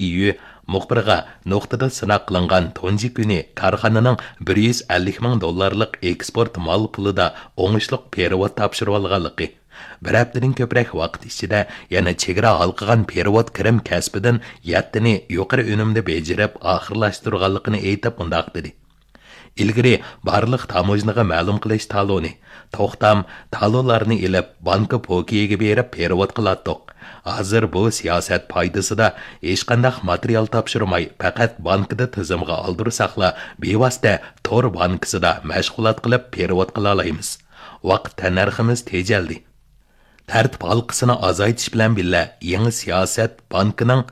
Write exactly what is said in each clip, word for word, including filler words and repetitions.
ئىيۈ مۇخبىرىغا نۇقتىدا سىناق قىلىنغان تۇنجى كۈنى كارخانىنىڭ بىر يۈز ئەللىك مىڭ دوللارلىق ئېكسپورت مال پۇلىدا ئوڭۇشلۇق پېرېۋوت تاپشۇرۇۋالغانلىقى، بىر ھەپتىدىن كۆپرەك ۋاقىت ئىچىدە يەنە چېگرا ھالقىغان پېرېۋوت كىرىم كەسپىدىن يەتتىنى يۇقىرى ئۈنۈمدە بېجىرىپ ئاخىرلاشتۇرغانلىقىنى ئېيتىپ مۇنداق دېدى: ئىلگىرى بارلىق تاموژنىغا مەلۇم قىلىش تالونى، توختام، تالونلارنى ئېلىپ، بانكا پوكىيىگە بېرىپ پېرېۋوت قىلاتتۇق. ھازىر بۇ سىياسەت پايدىسىدا ھېچقانداق ماتېرىيال تاپشۇرماي، پەقەت بانكىدا تىزىمغا ئالدۇرساقلا، بىۋاسىتە تور بانكىسىدا مەشغۇلات قىلىپ پېرېۋوت قىلالايمىز. ۋاقىت تەننەرخىمىز تېجەلدى. تەرتىپ ھالقىسىنى ئازايتىش بىلەن بىللە، يېڭى سىياسەت بانكىنىڭ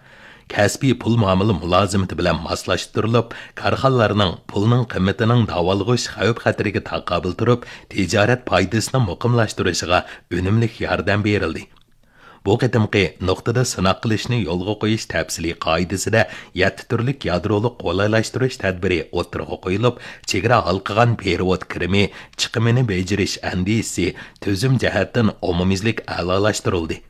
كەسپىي پۇل مۇئامىلە مۇلازىمىتى بىلەن ماسلاشتۇرۇلۇپ، كارخانىلارنىڭ پۇلنىڭ قىممىتىنىڭ داۋالغۇش خەۋپ-خەتىرىگە تاقابىل تۇرۇپ، تىجارەت پايدىسىنى مۇقىملاشتۇرۇشىغا ئۈنۈملۈك ياردەم بېرىلدى. بۇ قېتىمقى نۇقتىدا سىناق قىلىشنى يولغا قويۇش تەپسىلىي قائىدىسىدە يەتتە تۈرلۈك يادرولۇق قولايلاشتۇرۇش تەدبىرى ئوتتۇرىغا قويۇلۇپ، چېگرا ھالقىغان پېرېۋوت كىرىمى چىقىمىنى بېجىرىش ئەندىزىسى تۈزۈم جەھەتتىن ئومۇميۈزلۈك ئەلالاشتۇرۇلدى.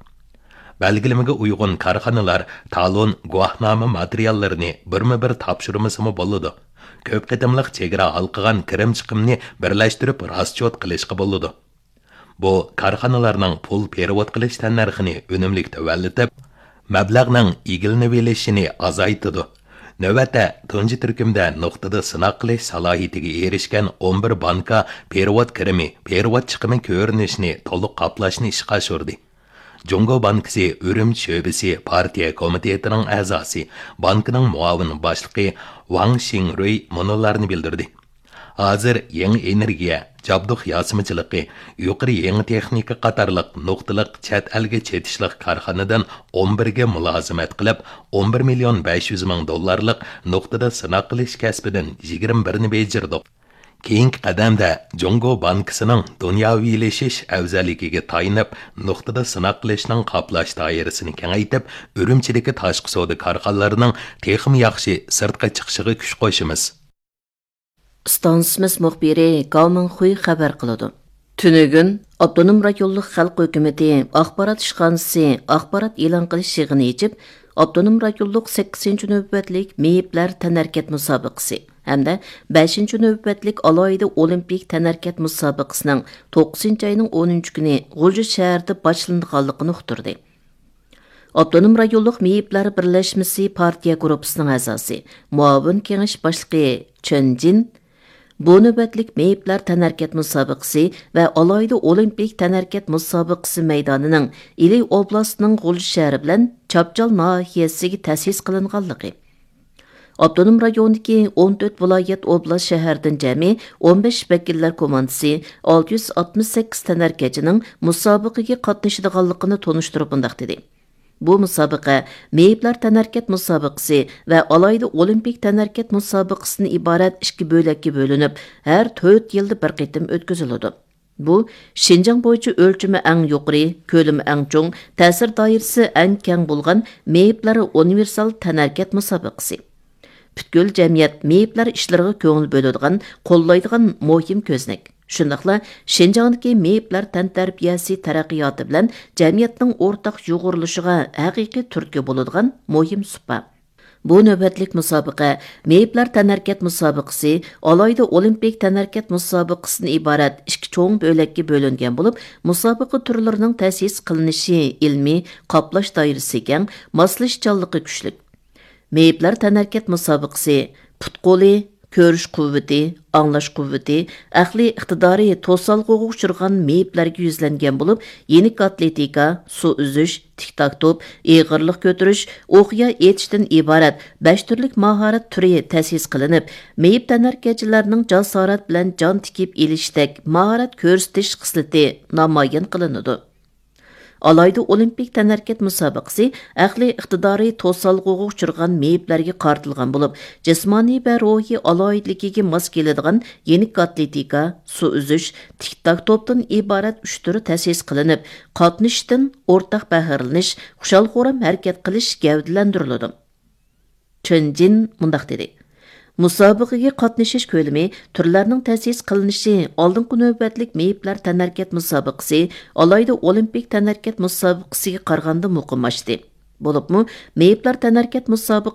بەلگىلىمىگە ئۇيغۇن كارخانىلار تالون، گۇۋاھنامە ماتېرىياللىرىنى بىرمۇ بىر تاپشۇرمىسىمۇ بولىدۇ. كۆپ قېتىملىق چېگرا ھالقىغان كىرىم چىقىمنى بىرلەشتۈرۈپ راسچوت قىلىشقا بولىدۇ. بۇ كارخانىلارنىڭ پۇل پېرېۋوت قىلىش تەننەرخىنى ئۈنۈملۈك تۆۋەنلىتىپ، مەبلەغنىڭ ئىگىلىنىۋېلىشىنى ئازايتىدۇ. نۆۋەتتە، تۇنجى تۈركۈمدە نۇقتىدا سىناق قىلىش سالاھىيىتىگە ئېرىشكەن ئون بىر بانكا پېرېۋوت كىرىمى، پېرېۋوت چىقىمى كۆرۈنۈشىنى تولۇق قاپلاشنى ئىشقا ئاشۇردى. جۇڭگو بانكىسى ئۈرۈمچى شۆبىسى پارتىيە كومىتېتىنىڭ ئەزاسى، بانكىنىڭ مۇئاۋىن باشلىقى ۋاڭ شىڭرۇي مۇنۇلارنى بىلدۈردى: ھازىر يېڭى ئېنېرگىيە، جابدۇق ياسىمىچىلىقى، يۇقىرى يېڭى تېخنىكا قاتارلىق نۇقتىلىق چەت ئەلگە چېتىشلىق كارخانىدىن ئون بىرگە مۇلازىمەت قىلىپ، ئون بىر مىليون بەش يۈز مىڭ دوللارلىق نۇقتىدا سىناق قىلىش كەسپىدىن يىگىرمە بىرنى بېجىردۇق. كېيىنكى قەدەمدە جۇڭگو بانكىسىنىڭ دۇنياۋىلىشىش ئەۋزەللىكىگە تايىنىپ، نۇقتىدا سىناق قىلىشنىڭ قاپلاش دائىرىسىنى كېڭەيتىپ، ئۈرۈمچىدىكى تاشقى سودا كارخانىلىرىنىڭ تېخىمۇ ياخشى سىرتقا چىقىشىغا كۈچ قوشىمىز. ئىستانسىمىز مۇخبىرى گاۋ مىڭخۇي خەۋەر قىلىدۇ. تۈنۈگۈن ئاپتونوم رايونلۇق خەلق ھۆكۈمىتى ئاخبارات ئىشخانىسى ئاخبارات ئېلان قىلىش يىغىنى ئېچىپ، ئاپتونوم رايونلۇق سەككىزىنچى نۆۋەتلىك مېيىپلەر تەنھەرىكەت مۇسابىقىسى ھەمدە بەشىنچى نۆۋەتلىك ئالاھىدە ئولىمپىك تەنھەرىكەت مۇسابىقىسىنىڭ توققۇزىنچى ئاينىڭ ئونىنچى كۈنى غۇلجا شەھىرىدە باشلىنىدىغانلىقىنى ئۇقتۇردى. ئاپتونوم رايونلۇق مېيىپلەر بىرلەشمىسى پارتىيە گۇرۇپپىسىنىڭ ئەزاسى، مۇئاۋىن كېڭەش باشلىقى چېن جىن بۇ نۆۋەتلىك مېيىپلەر تەنھەرىكەت مۇسابىقىسى ۋە ئالاھىدە ئولىمپىك تەنھەرىكەت مۇسابىقىسى مەيدانىنىڭ ئىلى ئوبلاستىنىڭ غۇلجا شەھىرى بىلەن چاپچال ناھىيەسىگە تەسىس قىلىنغانلىقى، ئاپتونوم رايوندىكى ئون تۆت ۋىلايەت، ئوبلاست، شەھەردىن جەمئىي ئون بەش ۋەكىللەر كوماندىسى، ئالتە يۈز ئاتمىش سەككىز تەنھەرىكەتچىنىڭ مۇسابىقىگە قاتنىشىدىغانلىقىنى تونۇشتۇرۇپ مۇنداق دېدى: بۇ مۇسابىقە مېيىپلەر تەنھەرىكەت مۇسابىقىسى ۋە ئالاھىدە ئولىمپىك تەنھەرىكەت مۇسابىقىسىدىن ئىبارەت ئىككى بۆلەككە بۆلۈنۈپ، ھەر تۆت يىلدا بىر قېتىم ئۆتكۈزۈلىدۇ. بۇ شىنجاڭ بويىچە ئۆلچىمى ئەڭ يۇقىرى، كۆلىمى ئەڭ چوڭ، تەسىر دائىرىسى ئەڭ كەڭ بولغان مېيىپلەر ئۇنىۋېرسال تەنھەرىكەت مۇسابىقىسى. پۈتكۈل جەمئىيەت مېيىپلەر ئىشلىرىغا كۆڭۈل بۆلىدىغان، قوللايدىغان مۇھىم كۆزنەك. شۇنداقلا شىنجاڭدىكى مېيىپلەر تەنتەربىيەسى تەرەققىياتى بىلەن جەمئىيەتنىڭ ئورتاق يۇغۇرۇلۇشىغا ھەقىقىي تۈرتكە بولىدىغان مۇھىم سۇپا. بۇ نۆۋەتلىك مۇسابىقە مېيىپلەر تەنھەرىكەت مۇسابىقىسى، ئالاھىدە ئولىمپىك تەنھەرىكەت مۇسابىقىسىدىن ئىبارەت ئىككى چوڭ بۆلەككە بۆلۈنگەن بولۇپ، مۇسابىقە تۈرلىرىنىڭ تەسىس قىلىنىشى ئىلمىي، قاپلاش دائىرىسى كەڭ، ماسلىشىشچانلىقى كۈچلۈك. مېيىپلەر تەنھەرىكەت مۇسابىقىسى پۇت-قولى، كۆرۈش قۇۋۋىتى، ئاڭلاش قۇۋۋىتى، ئەقلىي ئىقتىدارى توسالغۇغا ئۇچرىغان مېيىپلەرگە يۈزلەنگەن بولۇپ، يېنىك ئاتلېتىكا، سۇ ئۈزۈش، تىك تاك توپ، ئېغىرلىق كۆتۈرۈش، ئوقيا ئېتىشتىن ئىبارەت بەش تۈرلۈك ماھارەت تۈرى تەسىس قىلىنىپ، مېيىپ تەنھەرىكەتچىلەرنىڭ جاسارەت بىلەن جان تىكىپ ئېلىشتەك ماھارەت كۆرسىتىش خىسلىتى نامايان قىلىنىدۇ. ئالاھىدە ئولىمپىك تەنھەرىكەت مۇسابىقىسى ئەقلىي ئىقتىدارى توسالغۇغا ئۇچرىغان مېيىپلەرگە قارىتىلغان بولۇپ، جىسمانىي ۋە روھىي ئالاھىدىلىكىگە ماس كېلىدىغان يېنىك ئاتلېتىكا، سۇ ئۈزۈش، تىك تاك توپتىن ئىبارەت ئۈچ تۈر تەسىس قىلىنىپ، قاتنىشىشتىن، ئورتاق پەخىرلىنىش، خۇشال-خۇرام ھەرىكەت قىلىش گەۋدىلەندۈرۈلىدۇ. چېن جىن مۇنداق دېدى: مۇسابىقىگە قاتنىشىش كۆلىمى تۈرلەرنىڭ تەسىس قىلىنىشى، ئالدىنقى نۆۋەتلىك مېيىپلەر تەنھەرىكەت مۇسابىقىسى، ئالاھىدە ئولىمپىك تەنھەرىكەت مۇسابىقىسىگە قارىغاندا مۇقىم ئاشتى. بولۇپمۇ مېيىپلار تەنھەرىكەت مۇسابىقىسى